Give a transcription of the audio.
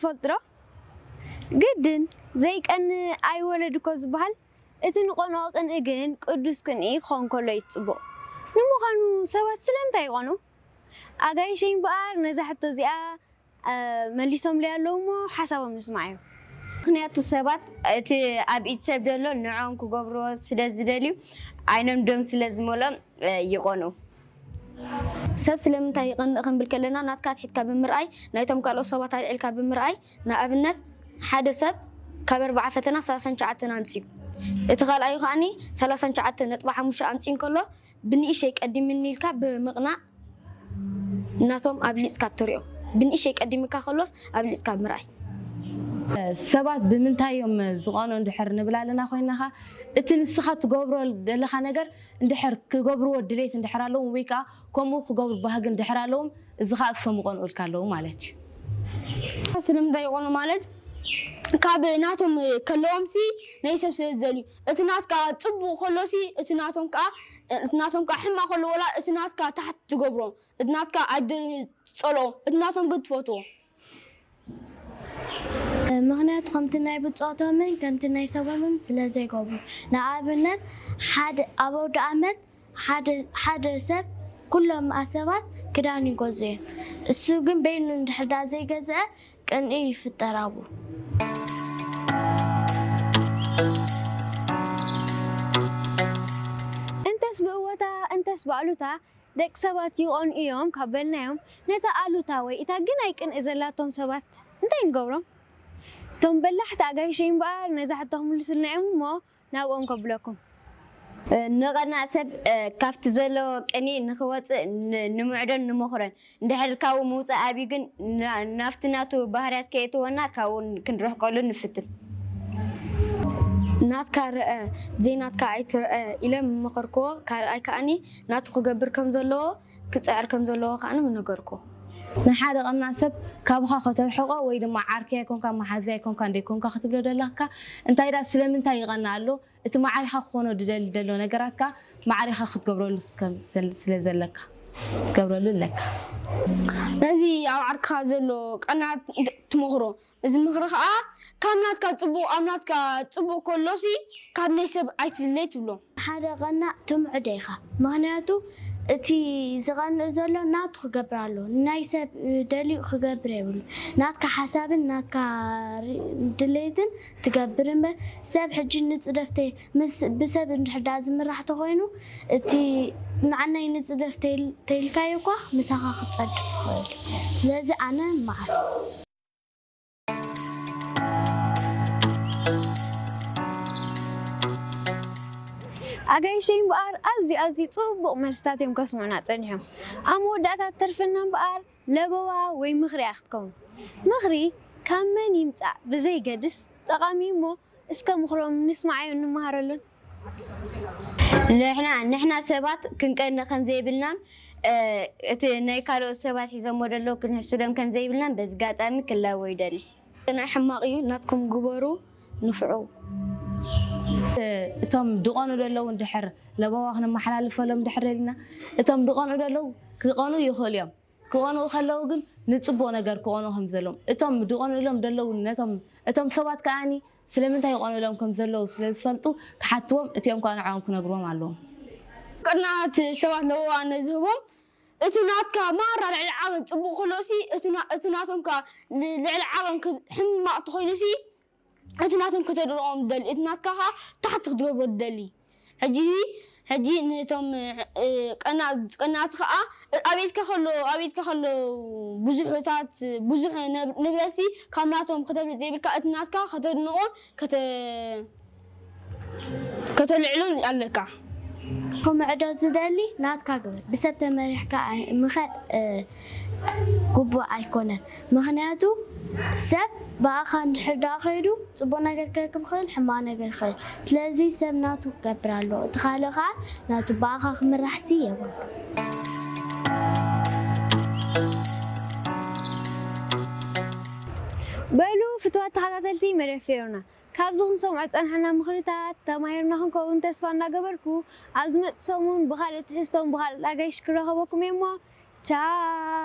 ትፈልጡ ዶ? ግድን ዘይቀንእ ኣይወለድ እኮ ዝበሃል፣ እቲ ንቐንኦ ቅንኢ ግን ቅዱስ ቅንኢ ክኸውን ከሎ እዩ ጽቡቕ። ንምዃኑ ሰባት ስለምንታይ ይቐንኡ? ኣጋይሸይ እምበኣር ነዛ ሕቶ እዚኣ፣ እ፣ መሊሶምለይ ኣለዉ እሞ ሓሳቦም ንስማዕ እዩ። ምኽንያቱ ሰባት እቲ ኣብ ኢድ ሰብ ዘሎ ንዕኦም ክገብርዎ ስለ ዝደልዩ ዓይኖም ደም ስለ ዝመልኦም፣ እ፣ ይቐንኡ። ሰብ ስለምንታይ ይቐንእ ክንብል ከለና ናትካ ኣትሒትካ ብምርኣይ ናይቶም ካልኦት ሰባት ኣልዒልካ ብምርኣይ ንኣብነት ሓደ ሰብ ካብ ኣርብዓ ፈተና ሰላሳን ትሽዓተን ኣምጺኡ እቲ ካልኣዩ ከኣኒ ሰላሳን ትሽዓተን ነጥቢ ሓሙሽተ ኣምጺኡ እንከሎ ብንእሽተይ ቀዲምኒ ኢልካ ብምቕናእ ናቶም ኣብሊጽካ እትሪኦ ብንእሽተይ ቀዲምካ ከሎስ ኣብሊጽካ ምርኣይ። ሰባት ብምንታይ እዮም ዝቐኑ እንድሕር ንብል ኣለና ኮይናኻ እቲ ንስኻ ትገብሮ ዘለኻ ነገር እንድሕር ክገብርዎ ድሌት እንድሕር ኣለዎም ወይ ከዓ ከምኡ ክገብሩ ባህጊ እንድሕር ኣለዎም እዚ ከዓ እሶም ይቐንኡልካ ኣለዉ ማለት እዩ። ስለምንታይ ይቐኑ ማለት ካብ ናቶም ከለዎም ሲ ናይ ሰብ ስለ ዝደልዩ እቲ ናትካ ፅቡቕ ከሎ ሲ እቲ ናቶም ከዓ እቲ ናቶም ከዓ ሕማቕ ከሎ ወላ እቲ ናትካ ታሕቲ ትገብሮ እቲ ናትካ ኣይደ ፀልኦ እቲ ናቶም ግን ትፈትዎ። ምኽንያቱ ከምቲ ናይ ብፆቶምን ከምቲ ናይ ሰቦምን ስለ ዘይገብሩ። ንኣብነት ሓደ ኣብ ኣውደ ኣመት ሓደ ሓደ ሰብ ኩሎም ኣሰባት ክዳን ይገዝኡ እዮም። እሱ ግን በይኑ እንድሕር ዳ ዘይገዝአ ቅንኢ ይፍጠር ኣብኡ። እንተስ ብእወታ እንተስ ብኣሉታ ደቂ ሰባት ይቐንኡ እዮም ካብ በልናዮም ነታ ኣሉታ ወይ እታ ግናይ ቅንኢ ዘላቶም ሰባት እንታይ ንገብሮም? እቶም በላሕቲ ኣጋይሸይ እምበኣር ነዛ ሕቶ ክምልሱልና እዮም እሞ ናብኦም ከብለኩም። ንቐናእ ሰብ ካብቲ ዘለዎ ቅንኢ ንኽወፅእ ንምዕዶን ንመኽሮን። እንድሕር ካብኡ ምውፃእ ኣብዩ ግን ናፍቲ ናቱ ባህርያት ከየእትወና ካብኡ ክንርሕቀሉ ንፍትን። ናትካ ርአ ዘይናትካ ኣይትርአ ኢለ ምመኸርክዎ። ካልኣይ ከኣኒ ናቱ ክገብር ከም ዘለዎ ክፅዕር ከም ዘለዎ ከኣኒ ምነገርክዎ። ንሓደ ቀናእ ሰብ ካብኻ ከተርሕቆ ወይ ድማ ዓርከይ ኣይኮንካ መሓዘይ ኣይኮንካ እንደይኮንካ ክትብሎ ደለካ እንታይ ዳ ስለምንታይ ይቐንእ ኣሎ እቲ ማዕሪኻ ክኾኖ ድደሊ ደሎ ነገራትካ ማዕሪኻ ክትገብረሉ ስለ ዘለካ ክትገብረሉ ኣለካ። ነዚ ኣብ ዓርክኻ ዘሎ ቀናት ትመኽሮ። እዚ ምኽሪ ኸኣ ካብ ናትካ ጽቡቕ ኣብ ናትካ ጽቡቕ ከሎሲ ካብ ናይ ሰብ ኣይትድለይ ትብሎ። ሓደ ቀናእ ትምዕዶ ኢኻ። ምኽንያቱ እቲ ዝቐንእ ዘሎ ናቱ ክገብር ኣለዎ። ናይ ሰብ ደልዩ ክገብር የብሉ። ናትካ ሓሳብን ናትካ ድሌትን ትገብር እምበር ሰብ ሕጂ ንጽደፍ ምስ ብሰብ እንድሕር ደኣ ዝምራሕ ተኾይኑ እቲ ንዓናይ ንጽደፍ ተይልካዮ እኳ ምሳኻ ክጸድፍ ይኽእል እዩ። ስለዚ ኣነ መዓር። ኣጋይሸይ እምበኣር ኣዝዩ ኣዝዩ ጽቡቕ መልስታት እዮም ከስምዑና ጸኒሖም። ኣብ መወዳእታ ትተርፈና እምበኣር ለበዋ ወይ ምኽሪ እያ ክትከውን። ምኽሪ ካብ መን ይምጻእ ብዘይገድስ ጠቓሚ እዩ እሞ እስከ ምኽሮም ንስምዓዮን ንመሃረሉን። ንሕና ንሕና ሰባት ክንቀንእ ከም ዘይብልናን እቲ ናይ ካልኦት ሰባት ሒዞሞ ደለዉ ክንሕስዶም ከም ዘይብልናን በዚ ጋጣሚ ክላቦ ይደሊ። ቅንኢ ሕማቕ እዩ ናትኩም ግበሩ ንፍዑ። እቶም ድቐኑ ደለዉ እንድሕር ለበዋ ክነመሓላልፈሎም እንድሕር ደሊና እቶም ድቐኑ ደለዉ ክቐኑ ይኽእሉ እዮም። ክቐንኡ ከለዉ ግን ንጽቡቕ ነገር ክቐንኡ ከም ዘለዎም እቶም ድቐንሎም ደለዉ ነቶም እቶም ሰባት ከኣኒ ስለምንታይ ይቐንሎም ከም ዘለዉ ስለ ዝፈልጡ ክሓትዎም እቲኦም ከኣ ንዕኦም ክነግርዎም ኣለዎም። ቅንኣት ሰባት ለበዋ ነዝህቦም እቲ ናትካ ማራ ልዕሊ ዓቐን ጽቡቕ ከሎሲ እቲ ናቶም ከኣ ልዕሊ ዓቐን ሕማቕ ተኾይኑሲ እቲ ናቶም ከተድንቖም ትደሊ፣ እቲ ናትካ ኸኣ ታሕቲ ክትገብሮ ትደሊ። ሕጂ ሕጂ ነቶም ቀናት ቀናት ኸኣ ኣብ ኢድካ ከሎ ኣብ ኢድካ ከሎ ብዙሕታት ብዙሕ ንብረትሲ ካብ ናቶም ከተብልጽ ዘይብልካ እቲ ናትካ ከተድንቖን ከተልዕሎን ኣለካ። ክምዕዶ ዝደሊ ናትካ ግበር። ብሰብ ተመሪሕካ ምኻድ ግቡእ ኣይኮነን። ምኽንያቱ ሰብ ብኣኻ እንድሕር ደኣ ከይዱ ጽቡቕ ነገር ክረክብ ይኽእል፣ ሕማቕ ነገር ይኽእል። ስለዚ ሰብ ናቱ ክገብር ኣለዎ። እቲ ካልእ ከኣ ናቱ ብኣኻ ክምራሕሲ የብሉን። በሉ ፍትዋት ተኸታተልቲ መደብ ፌሮና ካብዚ ክንሰምዖ ዝጸናሕና ምኽርታት ተማሂርና ክንከውን ተስፋ እናገበርኩ ኣብ ዝመጽእ ሰሙን ብኻልእ ትሕዝቶን ብኻልእ ኣጋይሽ ክረኸበኩም እየ እሞ ቻው።